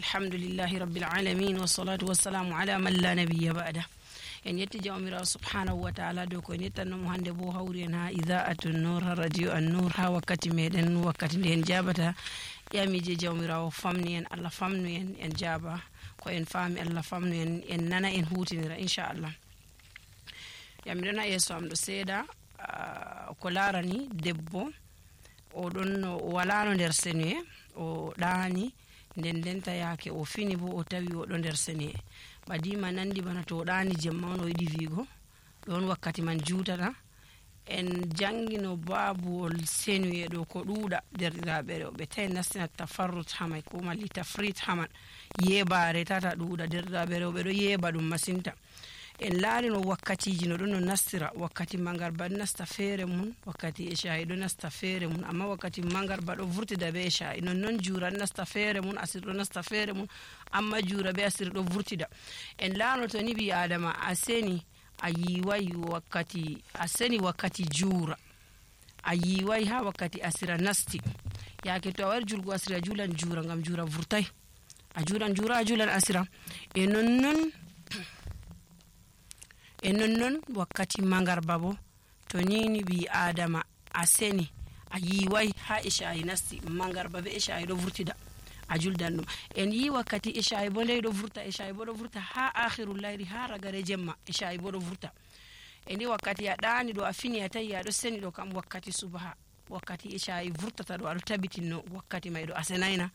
alhamdulillahi rabbil alamin wassalatu wassalamu ala man la nabiyya ba'da. En yetti jawmirawo subhanahu wa ta'ala dow ko en yettannomo hande bo hawri en ha ida'atun nur ha radio an nur ha wakkati meɗen wakkati nde en jabata ƴamije jawmirawo famni en, Allah famnu en jaba ko en faami, Allah famnu en nana en hutinira inchallah. Yamiɗon ha yeeso am ɗo seeɗa ko larani debbo oɗon walano nder senuye o ɗaani nden denta yaake o fini bo o tawi oɗo nder senuye ɓadima nandi bana to o ɗaani jemma on o yiɗi wiigo ɗon wakkati man juutata. En jangino babuwol senuye ɗo ko ɗuuɗa derɗiraɓe rewɓe tawi nastina tafarrut hamay ko malli tafrit haman yeɓare tata ɗuuɗa derɗiraɓe rewɓe ɗo yeɓa ɗum masinta. En laarino wakkatiji no ɗon no nastira wakkati mangarba ɗo nasta feere mun wakkati isha'i ɗo nasta feere mun amma wakkati mangarba ɗo vurtida be isha'i non juura ɗo nasta feere mun asir ɗo nasta feere mun amma juura be asir ɗo vurtida. En laarino to ni ɓi adama a seni a yiwai wakkati juura a yiwai ha wakkati asira nasti yaake to a wari julgo asira a julan juura ngam juura vurtai a julan juura a julan asira e nonnon wakkati mangarba bo to nini ɓi adama a seni a yiwai ha isha'i nasti mangarba be isha'i ɗo vurtida a juldan ɗum. En yi wakkati isha'i bo ndey ɗo vurta isha'i bo ɗo vurta ha akhirul layli ha ragare jemma isha'i bo ɗo vurta. E ndi wakkati a ɗaani ɗo a fini a tawi aɗo seni ɗo kam wakkati subaha wakkati isha'i vurtata ɗo aɗo tabitinno wakkati may ɗo a senayna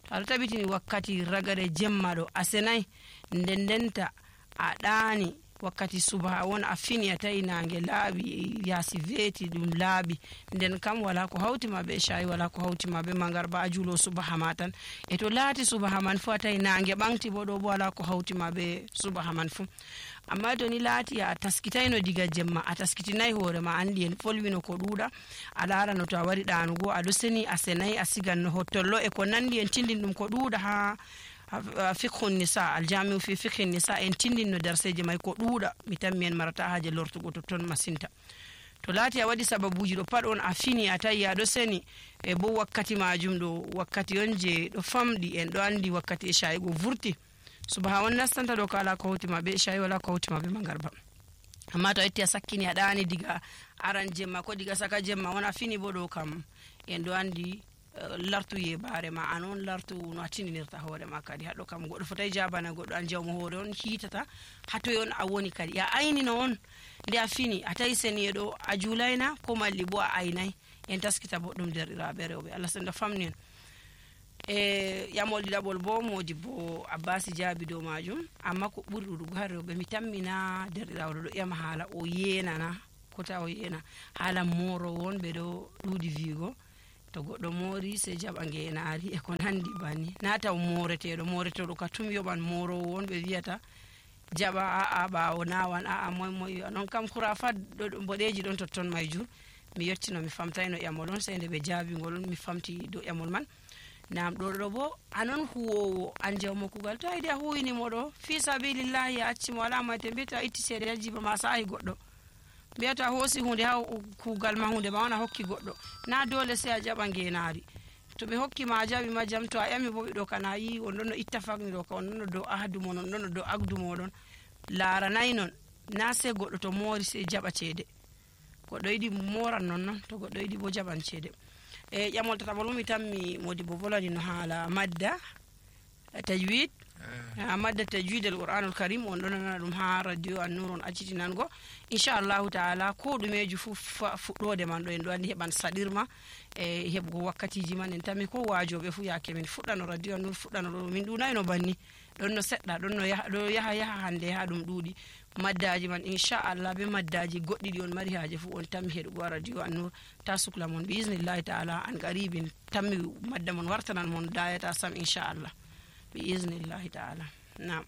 to aɗo tabitini wakkati ragare jemma ɗo a senay ndendenta a ɗaani wakkati subaha won a fini a tawi nange laaɓi yaasi veeti ɗum laaɓi nden kam wala ko hawtima be isha'i wala ko hawtima be mangarba a juulo subaha ma tan e to laati subaha man fu a tawi nange ɓanti bo ɗo bo wala ko hawtima be subaha man fu. Amma to ni laati a taskitayno diga jemma a taskitinayi hoore ma andi en folwino ko ɗuuɗa a laarano to a wari ɗaanugo aɗo seni a senayi a siganno hottollo e ko nandi en tindin ɗum ko ɗuuɗa ha fiqhu nisa aljamiu fi fiqhi nisa en tindinno darseje may ko ɗuuɗa mi tammi en marata haaje lortugo to ton masinta. To laati a waɗi sababuji ɗo pat on a fini a tawi aɗo seni e bo wakkati majum ɗo wakkati on je ɗo famɗi en ɗo andi wakkati isha'i go vurti subaha on nastanta ɗo ko ala ko hawtima be isha'i wala ko hawtima be mangarba. Amma to a yetti a sakkini a ɗaani diga aran jemma ko diga saka jemma on a fini bo ɗo kam en ɗo andi lartu yeɓare ma an on lartu no a tindinirta hoore ma kadi haɗo kam goɗɗo fotai jabana goɗɗo an jawmo hoore on hiitata hatoy on a woni kadi ya aynino on nde a fini a tawi seniye ɗo a juulayna ko malli bo a aynay en taskita boɗɗum derɗiraɓe rewɓe Allah senda famni en. E ƴamol ɗiɗaɓol bo modi bo abbasi jaabi dow majum amma ko ɓuri ɗuɗugo har rewɓe mi tammina derɗirawo ɗo ƴama haala o yenana kota o yena haala morowo on ɓe ɗo ɗuuɗi wiigo to goɗɗo moori sey jaɓa ngenaari e ko nandi banni na taw moreteɗo ka tum yoɓan morowo on ɓe wiyata jaɓa a'a ɓaawo nawan a'a moy non kam kurafat boɗeji ɗon totton mayjur mi yettino mi famtayno ƴamol on sey nde ɓe jaabingol mi famti dow ƴamol man. Nam ɗo bo anon huwowo an jawmo kugal to yiɗi a huwinimo ɗo fi sabilillahi a accimo wala mayte mbiyata itti seede yajiba ma saahi goɗɗo mbiyata hoosi hunde ha kugal ma hunde ma wona hokki goɗɗo na dole sey a jaɓa ngenaari to ɓe hokki ma a jaɓi ma jam to a ƴami bo ɓiɗo kana yi on ɗon no itta fagni ɗo ka on ɗon no dow ahdumo non ɗon no dow agdu moɗon laaranayi non na sey goɗɗo to moori sey jaɓa ceede goɗɗo yiɗi moran non to goɗɗo yiɗi bo jaɓan ceede. E ƴamol tataɓol mi tammi modi bo volani no haala madda tajwid madda tajwid al qur'anul karim on ɗon nana ɗum ha radio an nur on accitinango inchallahu taala ko ɗumeji fu fuɗɗode man ɗo en ɗo andi heɓan saɗirma e heɓugo wakkatiji man en tammi ko wajoɓe fu yaake min fuɗɗano radio an nur fuɗɗano ɗo min ɗunayno banni ɗon no seɗɗa ɗo yaha hande ha ɗum ɗuuɗi maddaji man inchallah be maddaji goɗɗi ɗi on mari haaje fu on tammi heɗugo radio an nur ta sukla mon bi isnillahi taala an qaribin tammi madda mon wartanan mon dayata sam inchallah bi isnillahi taala. Naam.